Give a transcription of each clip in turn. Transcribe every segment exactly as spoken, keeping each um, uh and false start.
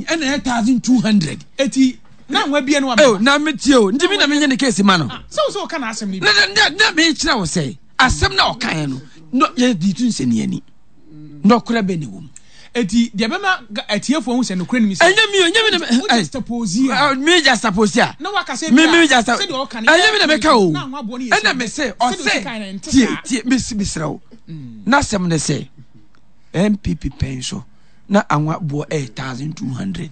ɛna ɛyɛ thousand two hundred. Eti na nwa bie no wa. Oh, na me tie o, nti mi na mi nye ne case ma no. Sɛ o sɛ o ka na asɛm ni bi. Na na na mi kyerɛ wo sɛ asɛm na ɔka yɛ no no yɛ di tu nsɛnni ani nɔkorɛ bɛ ne wɔm. Eti deɛ bɛma atiefoɔ ho sɛ nokorɛ nim sɛ. Ɛnyɛ mi o, ɛnyɛ mi na mi. O juxtapose a. Mi juxtapose a. Na waka sɛ mi mi juxtapose. Ɛnyɛ mi na mi ka o. Ɛna mi sɛ ɔsɛ tie tie mi si mi srɛ o. N'asɛm ne sɛ N P P pɛn so na anwa boɔ ɛyɛ thousand two hundred,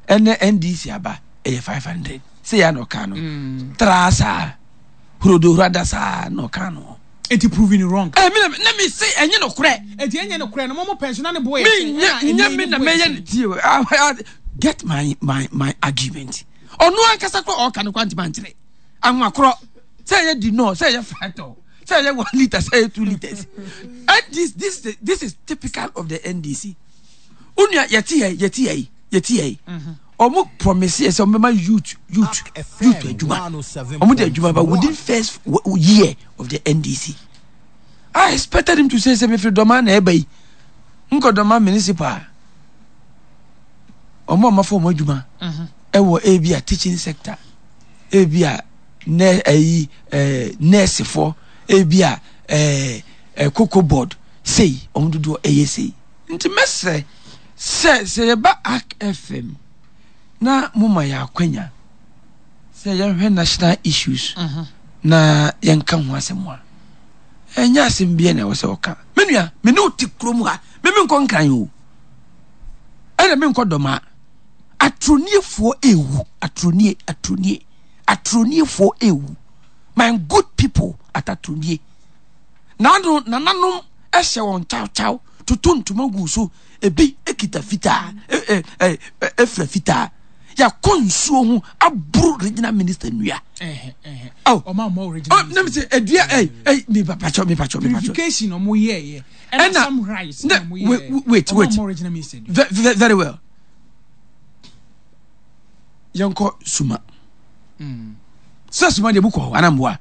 ɛnɛ N D C aba ɛyɛ five hundred. Sɛ yɛ na ɔka no traa saa hurodo hurada saa na ɔka no. Eti proving wrong. Ɛ mi na na mi se ɛnyɛ no korɛ. Eti ɛnyɛ no korɛ no, mo mo pɛn so na ne bo yɛ. Mi nyɛ nyɛ mi na mɛyɛ ne tie o. Get my my my argument. Ɔno ankasa korɔ ɔka no kwanti ma nkyerɛ anwa korɔ sɛ ɛyɛ di nɔ, sɛ ɛyɛ fratɔ, sɛ ɛyɛ one litre, sɛ ɛyɛ two litres. And this this this is typical of the N D C. Onua, yɛte yɛ yɛte yɛ yɛte yɛ ɔmo promise yɛ sɛ ɔmo bɛma youth youth youth adwuma. Ɔmo de adwuma ba within first year of the N D C. I expected him to say sɛ mefiri Dɔma na ɛba yi, nkɔ Dɔma municipal, ɔmo a ɔmo afa ɔmo adwuma ɛwɔ ebi a teaching sector, ebi a nɛ ɛyi ɛɛ nursefoɔ, ebi a ɛɛ ɛ Cocoa Board sei, ɔmo dodoɔ ɛyɛ sei. Nti mɛsrɛ sɛ sɛ yɛba Ark F M na mo ma yɛ akwanya sɛ yɛhwɛ national issues na yɛnka ho asɛm a, ɛnyɛ asɛm bia na ɛwɔ sɛ ɔka. Me nua, me ne wo te kurom ha, me menkɔ Nkran o, ɛna menkɔ Dɔma. Atroniefoɔ ewu, atronie, atronie, atroniefoɔ ewu. My good people at Atronie, nano nananom ɛhyɛ wɔn kyawkyaw toto ntoma gu so, ebi ekita fitaa, ɛ ɛ ɛ efura fitaa, yakɔ nsuo ho aburo regional minister nua. Ɔmo amɔ regional. Ɔ nam sɛ edua ɛ ɛ mi patsɔ, mi patsɔ, mi patsɔ. Purification ɔmo yɛ yɛ. Ɛna some rice. Ne wait, wait, wait. Ɔmo amɔ regional minister. Very, very well. Yɛnkɔ Suma sɛ Suma deɛ mu kɔ hɔ anamboa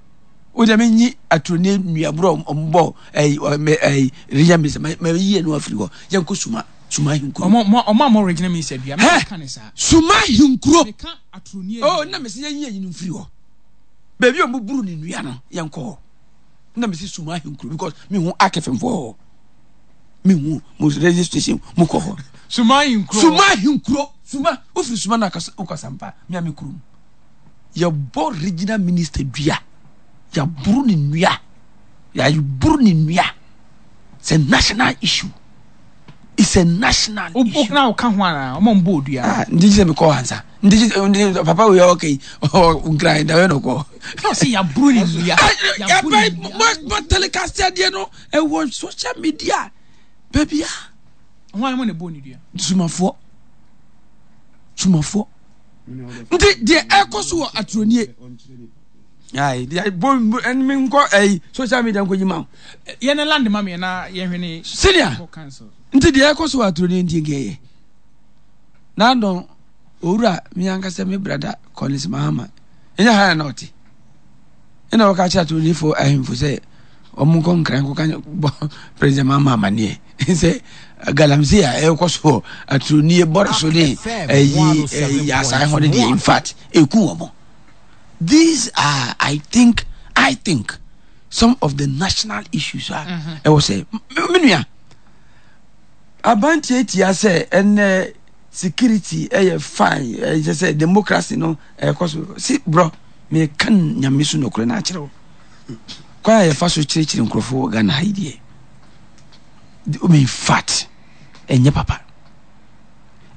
o deɛ menyi aturoni nnuaborɔ ɔmbɔ ɛyi ɛyi regional minister ma ma yi ɛnu afiri hɔ. Yɛnkɔ Suma, Suma Ahinkuro. Ɔmo ɔmo amɔ regional minister dua. Hɛ, Suma Ahinkuro. Meka aturoni. Oh, na mɛ sɛ yɛnyi ɛyi no mfiri hɔ, beebi a ɔmo buru ne nua no, yɛnkɔ hɔ. Na mɛ sɛ Suma Ahinkuro because mi hu akɛfɛnfoɔ hɔ, mi hu mo radio station mo kɔ hɔ. Suma Ahinkuro. Suma Ahinkuro, Suma ofiri Suma na akasa mpa mi a mi kurom yɛbɔ regional minister dua, yɛaboro ne nua, yɛaboro ne nua. It's a national issue, it's a national issue. Na ɔka ho ara ɔmo mbɔ odua. Ah, nti sɛ mi kɔ hansa, nti sɛ papa wo yɛ ɔkɛ yi nkran da yɛ no kɔ. Ɔsɛ yɛaboro ne nua. Yabɛ mo mo telecast adeɛ no ɛwɔ social media baabi a. Wɔn a mo na bɔ ne dua. Sumafoɔ, sumafoɔ. Nti deɛ ɛkɔ so wɔ Aturonie ayi deɛ bɔ ɛnmi nkɔ ɛyi social media nkɔ yi ma o. Yɛn ne land ma mi na yɛn hwɛ ne. Senior, nti deɛ ɛkɔ so wɔ Aturonie nti nkɛyɛ n'adɔn owura mi ankasa mi brother Collins Mahama ɛnyɛ ha na ɔte ɛna wɔka kyerɛ Aturoniefoɔ ahemfo sɛ wɔn nkɔ Nkran nkɔka bɔ President Mahama amaneɛ sɛ galamsey a ɛrekɔ so wɔ Aturonie bɔrɔ so ne ɛyi ɛyi asan hɔ ne deɛ, in fact, eku wɔn. These are i think i think some of the national issues a ɛwɔ sɛ me nua abantiatia sɛ ɛnɛ security ɛyɛ fine, ɛyɛ sɛ democracy no ɛkɔ so si borɔ. Meka Nyame so nokorɛ no akyerɛ wo, kwan a yɛfa so kyerɛkyerɛ nkurɔfoɔ wɔ Ghana ha yi deɛ, in fact, ɛnyɛ papa.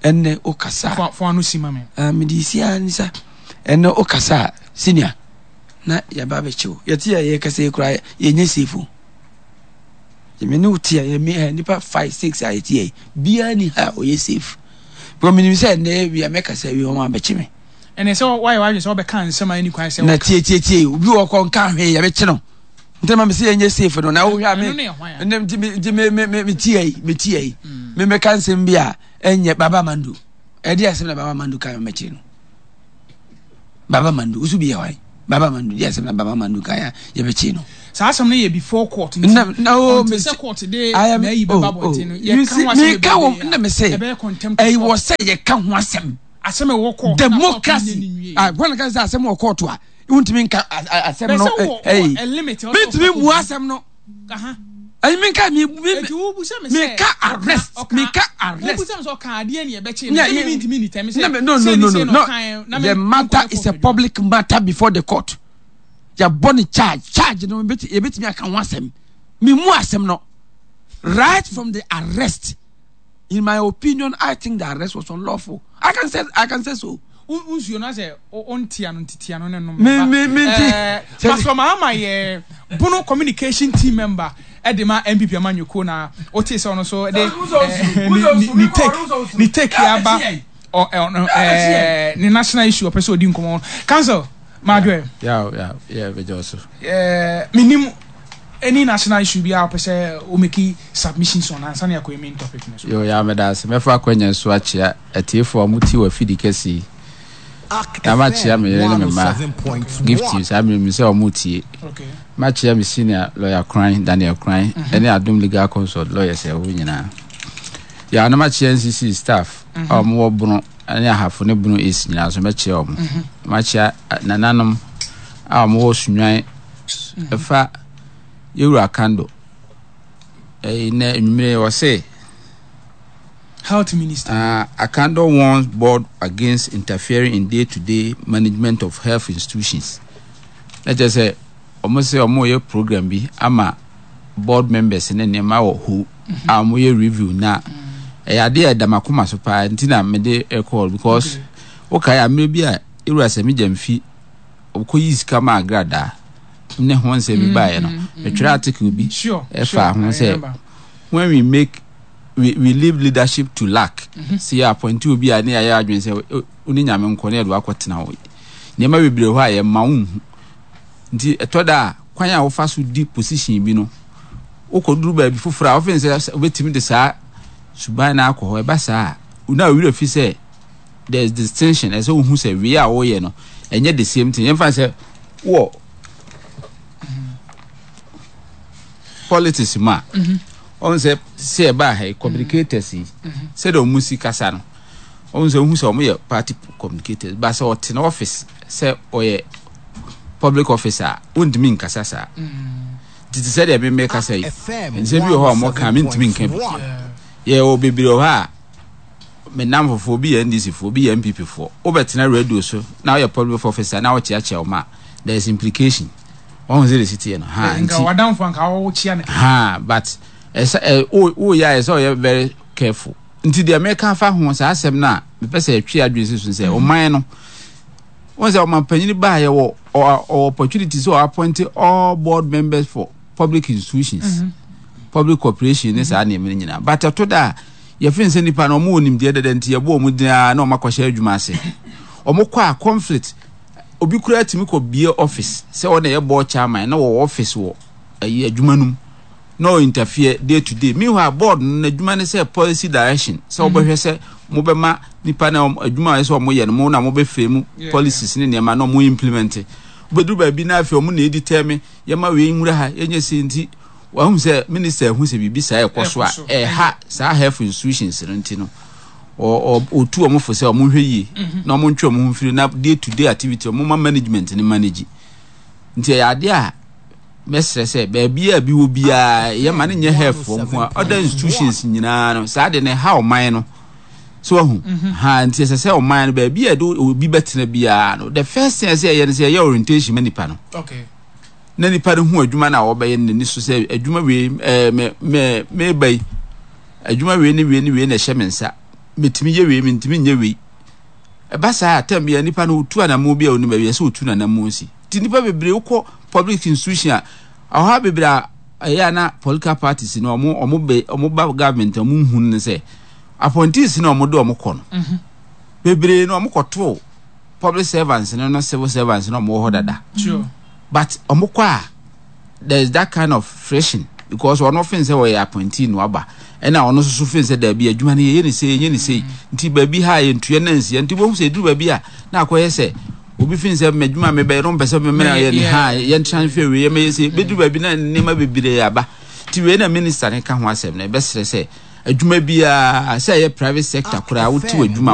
Ɛnɛ wokasa a fo ano si ma me. Ah, mede si a nisa. Ɛnɛ wokasa a, senior, na yɛba bɛkyew. Yɛte a yɛkasa yi koraa, yɛnyɛ safe o. Me ne wo te a, yɛ nipa five six a yɛte yɛ biara ni ha a ɔyɛ safe, because menim sɛ ɛnɛ wia mɛkasa wie, wɔn abɛkye me. Ɛnɛ sɛ wayɛ wadwe sɛ wɔbɛka nsɛm a ɛni kwan sɛ. Na tie, tie, tie, obi wɔ kɔ nka hwee, yɛbɛkye no. Nti ma me sɛ yɛnyɛ safe no na wohwɛ a me nti me nti me me me me tie yi, me tie yi, me mɛka nsɛm bi a ɛnyɛ. Baba Mando, ɛde asɛm na Baba Mando kan mɛkye no. Baba Mando woso bi yɛ hwan? Baba Mandu deɛ asɛm na Baba Mandu kan a yɛbɛkyi no. Saa asɛm no yɛ before court nti. Na na o until me sɛ court de I am na ayi oh bɛba oh abɔnten no, you yɛka see ho asɛm meka wɔ bebree na a me sɛ ɛbɛyɛ contempt of ɛyɛ wɔ court. sɛ yɛka ho asɛm. Asɛm a ɛwɔ court na court no nyɛ Democracy ne nwie. Ah, wɔn ka sɛ asɛm wɔ court a wontumi nka a- a- asɛm Bɛ no sɛ wɔ ɛyi wɔ a limit a ɔsɛ mentumi ɔkɔ mu kɔdu. Asɛm no Aha. ɛyi menka mi mi Eti wobusa me sɛ meka arrest ɔka meka arrest. Wobusa me sɛ ɔka adeɛ ne yɛbɛkye no Yeah, sɛ yeah. me ntumi nitɛm sɛ No, no, no, sei no, ne sei no, na no. ɔkaeɛ, na me The matter nkɔyɛ is a court adwuma. Public matter before the court. Yɛabɔ ne charge. Charge no yɛbɛti- yɛbɛtumi aka ho asɛm. Memu asɛm no. Right from the arrest, in my opinion, I think the arrest was unlawful. I can say, I can say so. Wo- nsuo no asɛ ɔntia no ntitia no ne nom. Me- me- me nti- Eh, sɛ- Pastor Mahama yɛ Bono communication team member ɛde ma N P P amanyɔkuo na wote sɛ ɔno so de eh, ne ne- ne take ne take yɛ aba ɔ- ɛ- ɔno, eh, ne national issue ɔpɛ sɛ ɔdi nkɔmmɔ. Council Madwe. Yeah, yeah, yeah, bɛgye so. eh, menim any national issue bi a wopɛ sɛ wo make submissions on ansa ne akɔyɛ main topic no so. Yo, ya meda ase. Mɛfa akwanya so akyea atiefoɔ a motie wɔ afidi kɛse yi. Na makyea me yere ne me mma Gift saa mmerɛ mu sɛ ɔmo tie. Okay. Makyea me senior lawyer Kran Daniel Kran ɛne Adom Legal Consult lawyers a ɛwɔ nyinaa. Ya na makyea N C C staff a ɔmo wɔ Bono ɛne Ahafo ne Bono East nyinaa so, mɛkyea ɔmo. Makyea eh, nananom a ɔmo wɔ Sunwan ɛfa yɛwura Kando. Ɛyi nɛ nwumire wɔ se Health minister. Uh, Akandoh warns board against interfering in day-to-day management of health institutions. Na kyerɛ sɛ ɔmo sɛ ɔmo yɛ program bi ama board members ne nneɛma wɔ hɔ a ɔmo yɛ review, na ɛyɛ adeɛ a ɛda m'akoma so paa nti na mede ɛkɔɔ because wokae ammerɛ bi a ewura Sammy Gyamfi ɔkɔyi sika ma Agradaa ne ho nsɛm bi baeɛ no, metwerɛ article bi Sure. ɛfa sure, ho I sɛ remember. When we make we, we leave leadership to luck mm -hmm. Sɛ yɛ appoint obi a ne yɛayɛ adwene sɛ wo ne Nyame nkɔ ne yɛde wakɔtena hɔ, nneɛma bebree hɔ a yɛma wo nhu. Nti ɛtɔ da a kwan a wofa so di position bi no, wokɔduru baabi foforɔ a wofɛn sɛ wobɛtumi de saa suban no akɔ hɔ. Ɛba saa a na owurɛ fi sɛ there is distinction. Ɛsɛ wohu sɛ wei a woyɛ no ɛnyɛ the same thing. Yɛmfa sɛ wɔ politics mu a, ɔn sɛ sɛ ɛbaa ha yi, communicators yi, sɛdeɛ ɔmo si kasa no, ɔn sɛ ohu sɛ ɔmo yɛ party communicators ba sɛ ɔte na office sɛ ɔyɛ public officer a, wontumi nkasa saa. Tete sɛdeɛ meme kasa yi, nsɛm bi wɔ hɔ a ɔmo ka, mentumi nka bi. Yɛwɔ bebree wɔ hɔ a me nam fofoɔ bi yɛ N D C foɔ bi, yɛ N P P foɔ. Wobɛtena radio so na woyɛ public officer na wokyeakyea wo ma a, there is implication. Wɔn sɛ de si teɛ no ha. Nka nti wadamfo anka wɔkyea no. Ha, but ɛsɛ ɛ wo woyɛ a, ɛsɛ ɔyɛ very careful. Nti deɛ mɛka fa ho saa asɛm no a mepɛ sɛ ɛtwe adwene si so sɛ ɔman no, wɔn sɛ ɔman panyin baa yɛ wɔ ɔ ɔ opportunity sɛ ɔ appoint all board members for public institutions mm -hmm. public corporation ne saa nneɛma no nyinaa. But ɛto da a yɛfin sɛ nipa no ɔmo wɔ nimdeɛ dada nti yɛbɔ ɔmo din a na ɔmo akɔhyɛ adwuma ase. Ɔmo kɔ a, conflict. Obi kura tumi kɔ bie office sɛ ɔna yɛ board chairman na wɔwɔ office wɔ ɛyi adwuma no mu na ɔ interfere day to day. Meanwhile, board no n'adwuma ne sɛ policy direction, sɛ wɔbɛhwɛ sɛ mobɛma nipa na adwuma a ɛsɛ ɔmo yɛ no, mo na mobɛfɛ mu policies ne nneɛma na ɔmo implement. Wobɛduru baabi na afei ɔmo na edi tɛmi yɛma wei nwura ha yɛnyɛ se. Nti wahu sɛ minister ehu sɛ biribi saa ɛkɔ so a ɛha saa health institutions no, nti no ɔtu ɔmo fo sɛ ɔmo nhwɛ yie na ɔmo ntwe ɔmo ho mfiri na day to day activity ɔmo ma management ne manage. Nti ɛyɛ adeɛ a mɛsrɛ sɛ baabi a bi wɔ biara yɛma ne nyɛ health foɔ nko a, other institutions nyinaa no saa de ne ha ɔman no so wahu ha. Nti ɛsɛ sɛ ɔman no baabi a yɛde obi bɛtena biara no, the first thing ɛsɛ yɛyɛ no sɛ yɛyɛ orientation ma nipa no okay na nipa no hu adwuma no a wɔbɛyɛ no n'ani so sɛ adwuma wei, ɛɛ mɛ mɛ mɛba yi, adwuma wei ne wei ne wei na ɛhyɛ me nsa, mɛtumi yɛ wei, mɛntumi nyɛ wei. Ɛba saa atɛm bi a nipa no otu anamɔ bi a onim baabi ɛsɛ otu n'anamɔ si. Ti nipa bebree wokɔ public institution a, ɔha bebree a ɛyɛ a na political parties no ɔmo ɔmo bɛ ɔmo ba government, ɔmo nhu no sɛ appointees na ɔmo de ɔmo kɔ no bebree no, ɔmo kɔto public servants no no civil servants no ɔmo wɔ hɔ dada. Sure but ɔmo kɔ a, there is that kind of friction because ɔno fin sɛ ɔyɛ appointee no aba, ɛna ɔno nso so fin sɛ daabi, adwuma no yɛyɛ ne sei, yɛnyɛ ne sei. Nti baabi ha yɛntua na nsia. Nti wɔn sɛ eduru baabi a na akɔyɛ sɛ Obi fi sɛ mɛdwuma mebɛyɛ no, mpɛ sɛ mɛmɛ yɛ ne ha yɛn transfer wei, yɛmɛyɛ sɛ bɛduru baabi na nneɛma bebree aba. Ti wei na minister ne ka ho asɛm na ɛbɛsrɛ sɛ adwuma biara, sɛ ɛyɛ private sector koraa, wote w'adwuma.